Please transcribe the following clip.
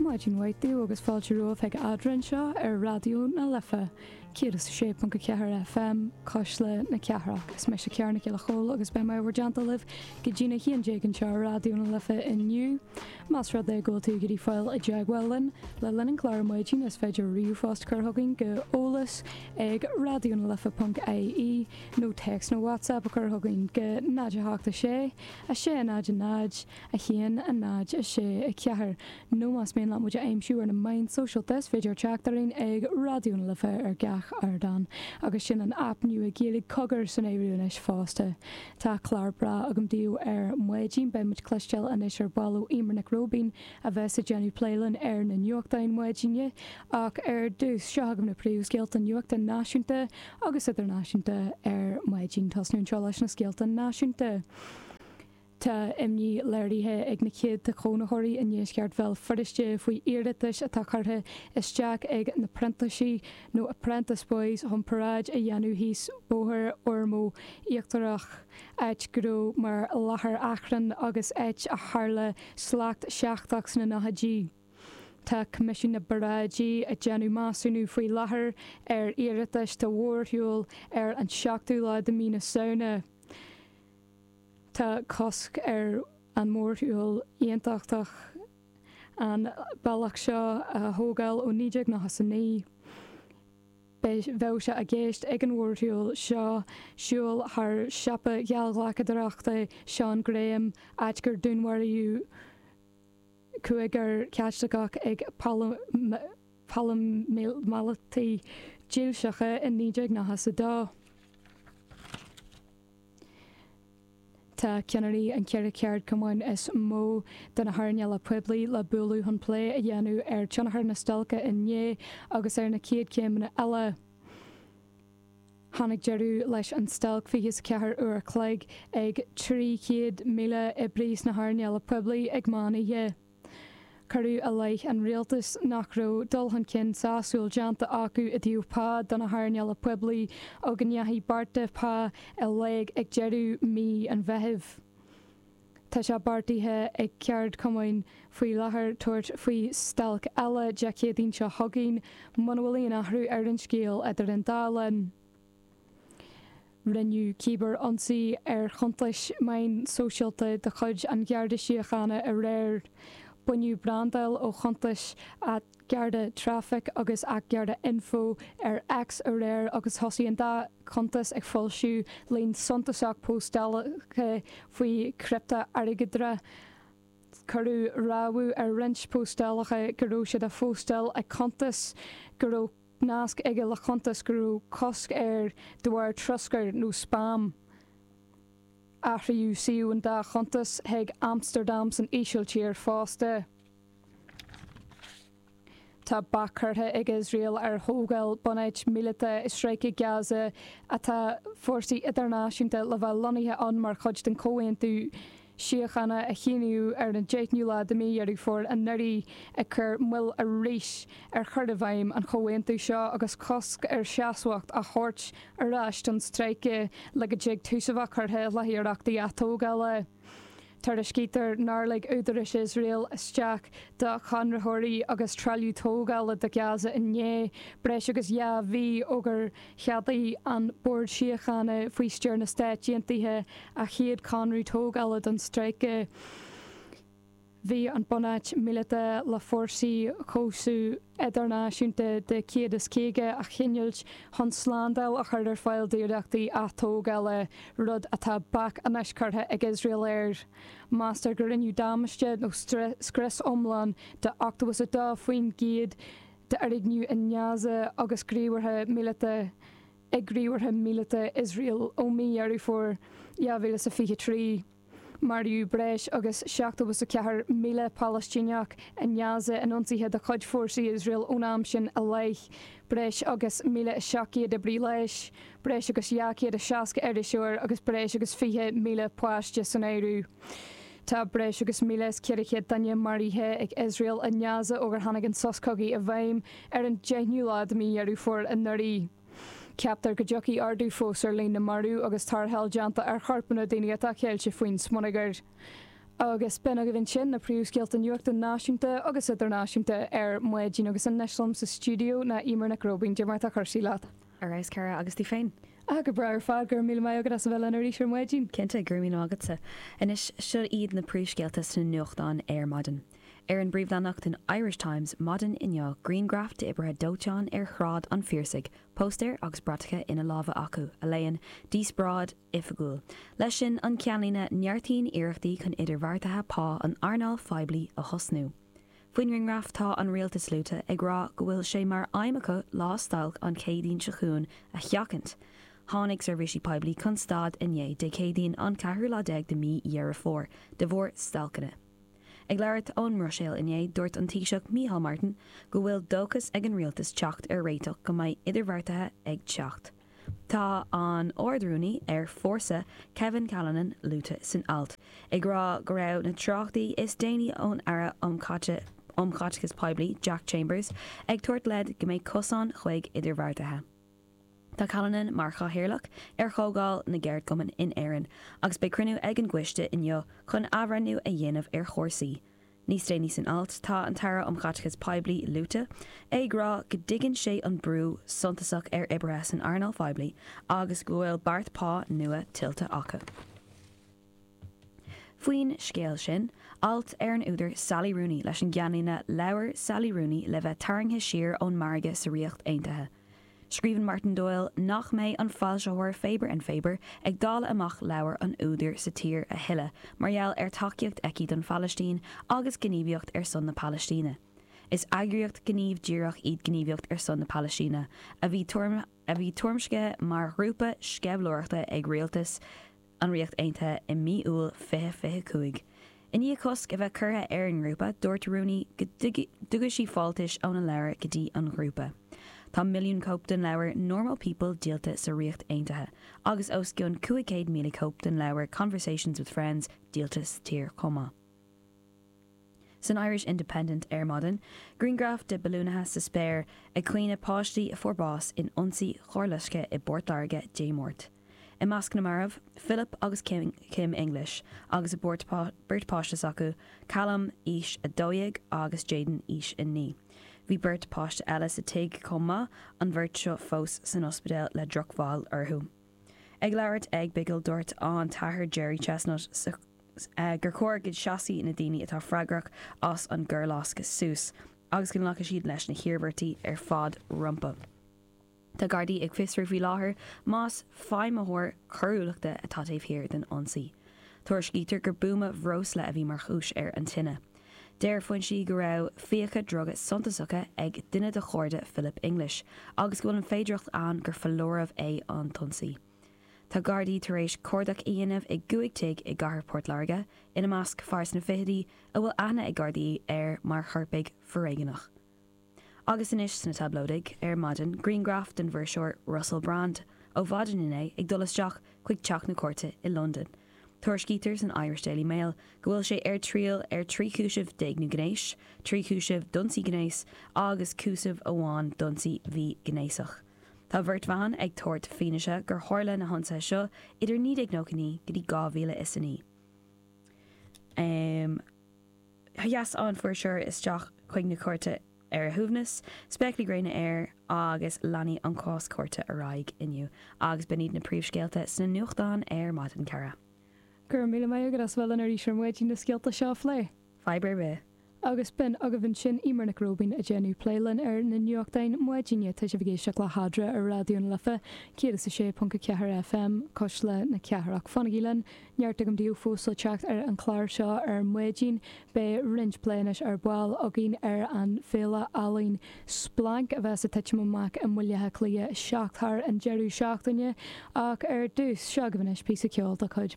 Maidin mhaith daoibh agus fáilte romhaibh chuig Eadra anseo ar Raidió na Life 106.4 FM, Cuisle na Cathrach. Is mise Ciara Nic Giolla Chóill agus beidh mé i bhur dteannta libh go dtína 11 anseo ar Raidió na Life inniu. Más rud é go bhfuil tú ag iarraidh fáil i dteagmháil linn le linn an chláir ar maidin is féidir ríomhphost a chur chugainn go eolas ag raidionalife.ie nó téacs nó WhatsApp a chur chugainn go 0 8 6 6 0 0 1 0 6 4 Nó más mian leat muid a aimsiú ar na meáin sóisialta is féidir teacht orainn ag Raidió na Life ar gach ardán. Agus sin an aip nua Gaeilge Cogar san áireamh anois fosta. Tá clár breá agam daoibh ar maidin. Beidh muid cloisteáil anois ar ball ó Eimear Nic Róibín a bheas ag déanamh plé linn ar na nuachtáin maidine. Ach ar dtús, seo chugaibh na príomhscéalta nuachta náisiúnta agus idirnáisiúnta ar maidin. Tosnú anseo leis na scéalta náisiúnta. Tá imní léirithe ag na céadta cónaitheoirí i ndeisceart Bhéal Feirste faoi iarratais atá curtha isteach ag na Printísigh nó Apprentice Boys chun paráid a dhéanamh thíos Bóthar Ormeau Íochtarach, áit go raibh mar láthair achrainn agus áit a tharla slad seachtrach sna nóchaidí. Tá Coimisiún na bParáidí ag déanamh measúnú faoi láthair ar iarratais do mhórshiúl ar an seachtú lá de mhí na Samhna. Tá cosc ar an mórshiúl aontachtach an bealach seo a thógáil ó 1999. Bheadh sé i gceist ag an mhórshiúl seo siúl thar siopa geallghlacadóireachta Sean Graham, áit gur dúnmharaíodh cúigear Caitliceach ag paraimíleataigh dílseacha i 1992. Tá ceannairí an cheithre cheardchumainn is mó de na hearnála poiblí le bualadh chun plé a dhéanamh ar tionchar na stailce inné agus ar na chéad chéimeanna eile. Tháinig deireadh leis an stailc 24 uair a chloig ag 300,000 oibrí sna hearnála poiblí ag meán oíche. Cuireadh i leith an rialtais nach raibh dul chun cinn sásúil déanta acu i dtaobh pá do na hearnála poiblí ó go ndeachaigh bearta pá i léig ag deireadh mí an Mheithimh. Tá sé beartaithe ag ceardchumainn faoi láthair tabhairt faoi stailc eile Dé Céadaoin seo chugainn muna bhfuil aon athrú ar an scéal idir an dá linn. Rinneadh cíbear-ionsaí ar chuntais meán sóisialta de chuid an Gharda Síochána aréir. Baineadh brandáil ó chuntais @GardaTraffic agus @GardaInfo ar X aréir agus thosaigh an dá chuntas ag foilsiú líon suntasach póstálacha faoi chriptea-airgeadra. Cuireadh rabhadh ar roinnt póstálacha go raibh siad á phóstáil ag cuntas go raibh nasc aige le cuntas go raibh cosc air de bharr troscair nó spam. Athraíodh suíomh an dá chuntas chuig Amstardam san Ísiltír fosta. Tá bac curtha ag Iosrael ar thógáil bunáit míleata i Stráice Gaza atá fórsaí idirnáisiúnta le bheith lonnaithe ann mar chuid den chomhaontú síochána a shíníodh ar an deichniú lá de mhí Dheireadh Fómhair anuraidh, ag cur moill arís ar chur i bhfeidhm an chomhaontú seo agus cosc ar seasmhacht á thabhairt ar ais don stráice le go dtig tús a bheith curtha le hiarrachtaí atógála. Tuairiscítear nár lig údaráis Iosrael isteach do chonraitheoirí agus trealamh tógála do Gaza inné, breis agus 2 mhí ó gur cheadaigh an Bord Síochána faoi stiúir na Stát Aontaithe a chéad chonradh tógála don stráice. Bhí an bunáit míleata le fórsaí cobhsaí idirnáisiúnta de 150 a choinneáilt chun slándáil a chur ar fáil d'iarrachtaí atógála, rud atá bac anois curtha ag Iosrael air. Meastar go rinneadh damáiste nó scrios iomlán de 82% d'fhoirgnimh i nGaza agus gníomhartha míleata ag gníomhartha míleata Iosrael ó mhí Dheireadh Fómhair 2023. Maraíodh breis agus 74,000 Palaistíneach i nGaza in ionsaithe de chuid fórsaí Iosrael ón am sin i leith, breis agus 1,700 oibrí leighis, breis agus 260 iriseoir agus breis agus 20,000 páiste san áireamh. Tá breis agus 1,400 duine maraithe ag Iosrael i nGaza ó gur tháinig an sos cogaidh i bhfeidhm ar an 10ú lá de mhí Dheireadh Fómhair anuraidh. Ceaptar go dtiocfaidh ardú fós ar líon na marbh agus tarrtháil déanta ar chorpanna daoine atá ceilte faoin smionagar. Agus b'in agaibh ansin na príomhscéalta nuachta náisiúnta agus idirnáisiúnta ar maidin agus anois liom sa stiúideo ná Eimear Nic Róibín. Cad é mar atá cúrsaí leat? Ar fheabhas, cara, agus tú féin? Ah, go breá ar fad, go raibh míle maith agat as a bheith linn arís ar maidin. Cinnte, go raibh míle maith agatsa. Anois, seo iad na príomhscéalta sna nuachtáin ar maidin. Ar an bpríomhleathanach den Irish Times maidin inniu, grianghraf d'oibrithe dóiteáin ar Shráid an Phiarsaigh, póstaeir agus bratacha ina lámha acu, a léann, 'Díospóid Oifigiúil'. Leis sin, an ceannlíne, 'Neartaíonn iarrachtaí chun idirbheartaithe pá an earnáil phoiblí a thosnú'. Faoin ngrianghraf tá an rialtas luaite, ag rá go bhfuil sé mar aidhm acu lá stailc an Chéadaoin seo chugainn a sheachaint. Tháinig seirbhísí poiblí chun stad inné, Dé Céadaoin an ceathrú lá déag de mí Dheireadh Fómhair, de bharr stailceanna. Ag labhairt ón mBruiséil inné, dúirt an Taoiseach Micheál Martin go bhfuil dóchas ag an rialtas teacht ar réiteach go mbeidh idirbheartaithe ag teacht. Tá an Ard-Rúnaí ar Fórsa Kevin Callinan luaite san alt, ag rá go raibh na treochtaí is déanaí ón Aire um Chaiteachas Poiblí Jack Chambers ag tabhairt leid go mbeidh cosán chuig idirbheartaithe. Tá Callinan mar chathaoirleach ar Chomhdháil na gCeardchumann in Éirinn agus beidh cruinniú ag an gcoiste inniu chun athbhreithniú a dhéanamh ar chúrsaí. Níos déanaí san alt, tá an tAire um Chaiteachas Poiblí luaite, ag rá go dtuigeann sé an brú suntasach ar oibrithe san earnáil phoiblí agus go bhfuil beart pá nua tuillte acu. Faoin scéal sin, alt ar an údar Sally Rooney leis an gceannlíne 'Leabhar Sally Rooney le bheith tarraingthe siar ón margadh sa Ríocht Aontaithe'. Scríobhann Martin Doyle nach mbeidh an foilsitheoir Faber and Faber ag dáileadh amach leabhar an údair sa tír a thuilleadh mar gheall ar tacaíocht aici don Phalaistín agus gníomhaíocht ar son na Palaistíne. Is eagraíocht gníomh díreach iad Gníomhaíocht ar son na Palaistíne a bhí a bhí tuairimscithe mar ghrúpa sceimhlitheoireachta ag rialtas an Ríocht Aontaithe i mí Iúil 2025. I ndiaidh cosc a bheith curtha ar an ngrúpa, dúirt Rooney go dtugadh sí fáltais óna leabhar go dtí an ghrúpa. Tá milliún cóip den leabhar Normal People díolta sa Ríocht Aontaithe agus os cionn 500,000 cóip den leabhar Conversations with Friends díolta sa tír chomh maith. San Irish Independent ar maidin, grianghraf de balúnaithe sa spéir ag caoineadh páistí a fuair bás in ionsaí carrloiscthe i bPort Láirge Dé Máirt. I measc na marbh, Philip agus Kim English agus a beirt páiste s'acu, Callum, aois 12, agus Jayden, aois 9. Bhí beirt páiste eile sa tigh chomh maith, an bheirt seo fós san ospidéal le drochbhail orthu. Ag labhairt ag bigil dúirt an t-athair Gerry Chestnutt gur chóir go seasfaidh na daoine atá freagrach as an gcoirloscadh suas agus go nglacfaidh siad leis na hiarmhairtí ar fad rompu. Tá Gardaí ag fiosrú faoi láthair más feidhmitheoir coiriúlachta atá taobh thiar den ionsaí. Tuairiscítear gur buama breosla a bhí mar chúis ar an tine. Deir foinsí go raibh fiacha druga suntasacha ag duine de chairde Philip English agus go bhfuil an féidearthacht ann gur foláireamh é an t-ionsaí. Tá Gardaí tar éis cuardach a dhéanamh i gcúig tigh i gcathair Port Láirge, ina measc fear sna fichidí a bhfuil aithne ag Gardaí air mar choirpeach foréigneach. Agus anois sna tablóidigh ar maidin, grianghraf den bhfuirseoir Russell Brand ó mhaidin inné ag dul isteach chuig Teach na Cúirte i Londain. Tuairiscítear san Irish Daily Mail go bhfuil sé ar triail ar 13 chúiseamh d'éigniú gnéis, 3 chúiseamh d'ionsaí gnéis agus cúiseamh amháin d'ionsaí mhíghnéasach. Tá beirt bhan ag tabhairt fianaise gur tharla na hionsaithe seo idir 1999 go dtí 2009. Sheas an fuirseoir isteach chuig na cúirte ar a shuaimhneas, spéaclaí gréine air agus leanfaidh an cás cúirte ar aghaidh inniu. Agus b'in iad na príomhscéalta sna nuachtáin ar maidin, cara. Go raibh míle maith agat as a bheith linn arís ar maidin na scéalta seo a phlé. Fadhb ar bith. Agus b'in agaibh ansin Eimear Nic Róibín ag déanamh plé linn ar na nuachtáin maidine. Tá sibh ag éisteacht le hEadra ar Raidió na Life, 106.4 FM, Cuisle na Cathrach. Fanaigí linn, neart agam daoibh fós le teacht ar an chlár seo ar maidin. Beidh roinnt plé anois ar ball againn ar an bhféile ealaíon Splanc a bheas ag titim amach i mBaile Átha Cliath 7 thar an deireadh seachtaine. Ach ar dtús, seo agaibh anois píosa ceoil de chuid.